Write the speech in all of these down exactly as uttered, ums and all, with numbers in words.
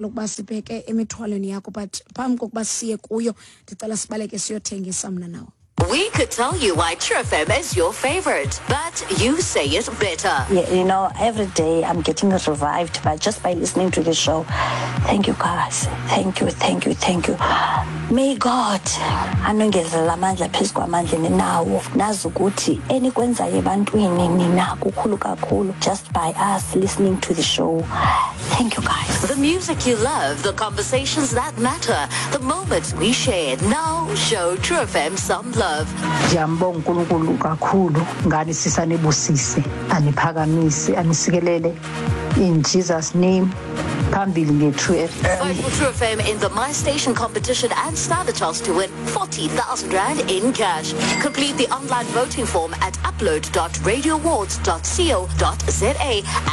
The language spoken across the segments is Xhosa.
Lokuba sibheke emithwalweni yakho, but phambi kokuba siye kuyo, ndicela sibaleke siyothengisa mna nawe. We could tell you why True F M is your favorite, but you say it better. Yeah, you know, every day I'm getting revived by just by listening to the show. Thank you, guys. Thank you, thank you, thank you. May God anongezela amandla phezu kwamandla ninawo. Nazi ukuthi enikwenzayo ebantwini nina kukhulu kakhulu just by us listening to the show. Thank you, guys. The music you love, the conversations that matter, the moments we share. Now show True F M some love. Ndiyambonga uNkulunkulu kakhulu ngani, sisi, anibusise, aniphakamise, anisikelele in Jesus' name. Phambili nge-True F M. Vote for True F M in the My Station competition and stand a chance to win forty thousand rand in cash. Complete the online voting form at upload dot radioawards dot co dot za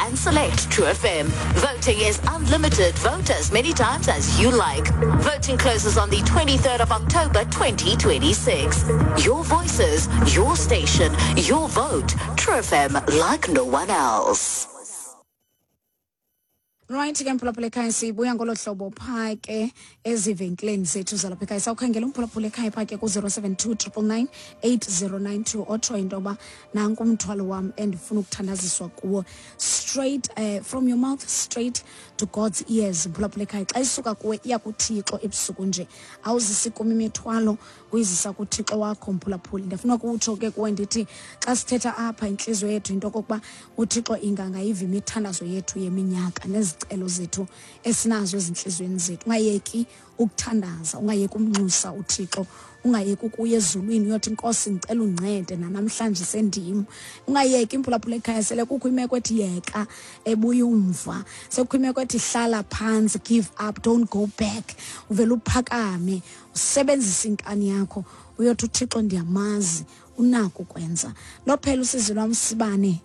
and select True F M. Voting is unlimited. Vote as many times as you like. Voting closes on the twenty-third of October twenty twenty-six. Your voices, your station, your vote. True F M, like no one else. Right ke, mphulaphula ekhaya, sibuya ngolo hlobo phaa ke ezivenkileni zethu zalapha ekhaya. Sawukhangela umphulaphula ekhaya phaa ke ku-zero seven two triple nine eight zero nine two, otsho into yoba nanku umthwalo wam endifuna ukuthandaziswa kuwo, straight uh, from your mouth straight to God's ears. Mphulaphula ekhaya, xa isuka kuwe iya kuThixo ebusuku nje, awuzisi kum imithwalo, uyizisa kuThixo wakho, mphulaphuli. Ndifuna kutsho ke kuwe ndithi xa sithetha apha, intliziyo yethu into okokuba uThixo ingangayiva imithandazo yethu yeminyaka nezicelo zethu esinazo ezintliziyweni zethu. Ungayeki ukuthandaza, ungayeki umnxusa uThixo, ungayeki ukuya ezulwini uyothi, "Nkosi, ndicela undincede, nanamhlanje sendim." Ungayeki, imphulaphula ekhaya. Sele kukho imeko ethi yeka, ebuya umva, sekukho imeko ethi hlala phantsi, give up, don't go back, uvele uphakame, usebenzise inkani yakho, uyothi, "UThixo ndiyamazi unako ukwenza." Lophela usizi lwam, sibane.